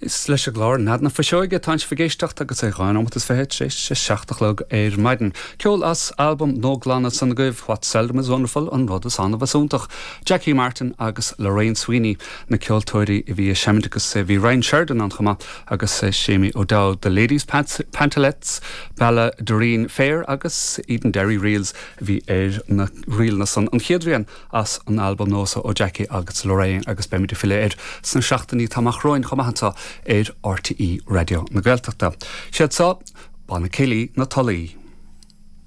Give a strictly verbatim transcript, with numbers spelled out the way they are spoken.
Is leis an gclár Nead na Fuiseoige atá sibh ag éisteacht agus é dhá nóiméad is fiche tar éis a seacht a chlog ar maidin. Ceol as albam nua glan san agaibh What Seldom is Wonderful an rud is annamh is iontach. Jackie Martin agus Lorraine Sweeney na ceoltóirí a bhí ag seinm agus bhí Ryan Sheridan ann chomh maith agus Séamie O'Dowd, The Ladies Pantalettes, Ballaghaderreen Fair agus Edenderry Reels a bhí ar na ríleanna san an chéad rian as an albam nua ó Jackie agus Lorraine agus beimid ag filleadh air sna seachtainí atá amach romhainn chomh maith anseo ar RTÉ Raidió na Gaeltachta. Siad seo banna céilí na Tulaí.